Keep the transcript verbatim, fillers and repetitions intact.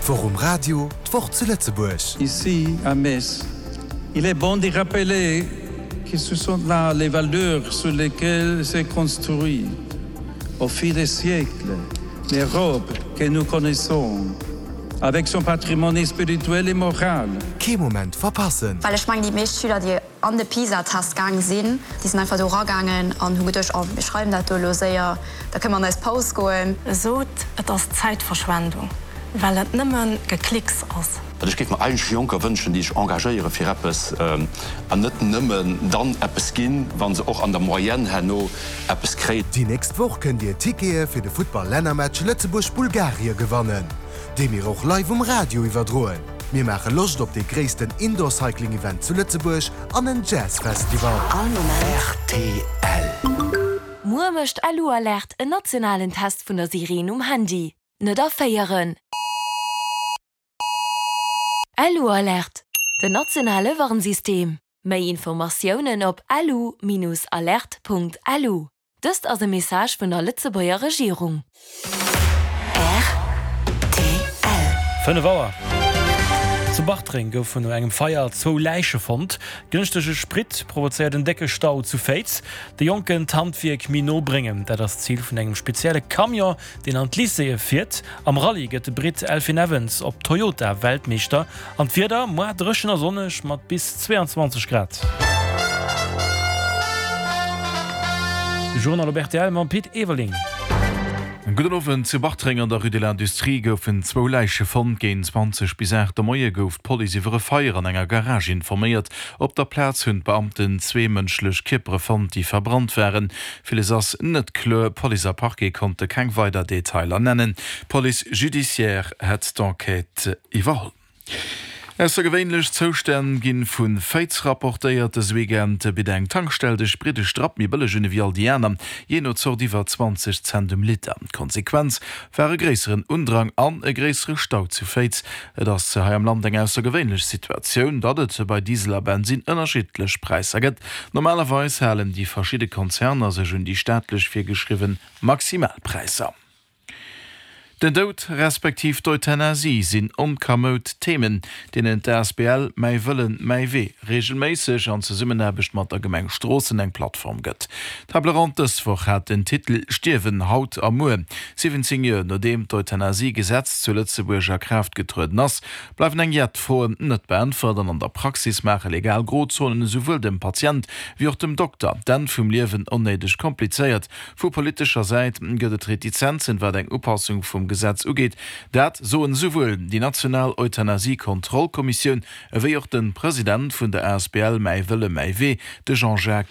D'Woch um Radio, d'Woch zu Lëtzebuerg. Ici, à Metz, il est bon de rappeler que ce sont là les valeurs sur lesquelles s'est construite, au fil des siècles, l'Europe que nous connaissons, avec son patrimoine spirituel et moral. Kee Moment verpassen! Well ech mengen, déi meescht Schüler, déi an de PISA-Test gaange sinn, déi sinn einfach do eragaangen an hu geduecht, oh, mir schreiwen dat do elo séier, da kënne mer an eis Paus goen. Sot, et ass Zäitverschwendung, well et nëmme Geklicks ass. Ech géif mer eigentlech Jonker wënschen, déi sech engagéiere fir eppes an net nëmmen dann eppes ginn, wa se och an der Moyenne herno eppes kréien. Déi nächst Woch kënnt Dir Tickete fir de Futtball-Lännermatch Lëtzebuerg-Bulgarie gewannen, dee mir och live um Radio iwwerdroen. Mir maache Loscht op dee gréissten Indoor-Cycling-Event zu Lëtzebuerg an en Jazz-Festival. All Moment. Rtl. Muer mécht Lu-Alert en nationalen Test vun der Sireen um Handy. Net erféieren! Lu-Alert, den nationale Warnsystem. Méi Informatiounen op lu-alert.lu. Dëst ass e Message vun der Lëtzebuerger Regierung. Rtl. Fënnef Auer. Zu Bartreng goufen no engem Feier zwou Läiche fonnt. Gënschtege Sprit provozéiert en décke Stau zu Féiz. De Jonken d'Handwierk méi no bréngen, dat ass d'Zil vun engem spezielle Camion, deen an d'Lycéeë fiert. Am Rallye gëtt de Britt Elfyn Evans op Toyota Weltmeeschter. An d'Wieder, Moar dréchen a sonneg mat bis zweeanzwanzeg Grad. De Journal op rtl mam Pit Everling. Gudden Owend. Zu Bartreng an der Rue de l'Industrie goufen zwou Läiche fonnt. Géint zwanzeg bis aacht de Moie gouf d'Police iwwer e Feier an enger Garage informéiert. Op der Plaz hunn d'Beamten zwee mënschlech Kierpere fonnt, déi verbrannt waren. Villes ass net kloer, Police a Parquet konnte keng weider Detailer nennen. D'Police judiciaire hätt d'Enquête iwwerholl. Aussergewéinlech Zoustänn gi vu Féiz rapportéiert. Dëse Weekend bitt eng Tankstell de Sprit e Strapp méi bëlleg un ewéi all déi aner, jee no Zort iwwer zwanzeg Cent um Liter. D'Konsequenz war e gréisseren Undrang an e gréissere Stau zu Féiz. Et ass hei am Land eng aussergewéinlech Situatioun, datt et bei Diesel a Bensinn ënnerschiddlech Präisser gëtt. Normalerweis halen déi verschidde Konzerner sech un déi staatlech virgeschriwwe Maximalpräisser. Den Doud respektiv d'Euthanasie sinn onkamoud Themen, deenen d'A S B L Mäi Wëllen, mäi Wee reegelméisseg an Zesummenaarbecht mat der Gemeng Stroossen eng Plattform gëtt. D'Table ronde dës Woch hat den Titel Stierwen haut a muer. siwwenzéng Joer nodeem d'Euthanasie-Gesetz zu Lëtzebuerg a Kraaft getrueden ass, bleiwen eng jett Froen net beäntwert an an der Praxis maache legal Grozonen esouwuel dem Patient wéi och dem Dokter d'Enn vum Liewen onnéideg komplizéiert. Vu politescher Säit gëtt et Retizenzen, wat eng Upassung vum Gesetz ugeet. Dat soen esouwuel déi national Euthanasie-Kontrollkommissioun ewéi och de President vun der asbl Mäi Wëlle, mäi Wee, de Jean-Jacques.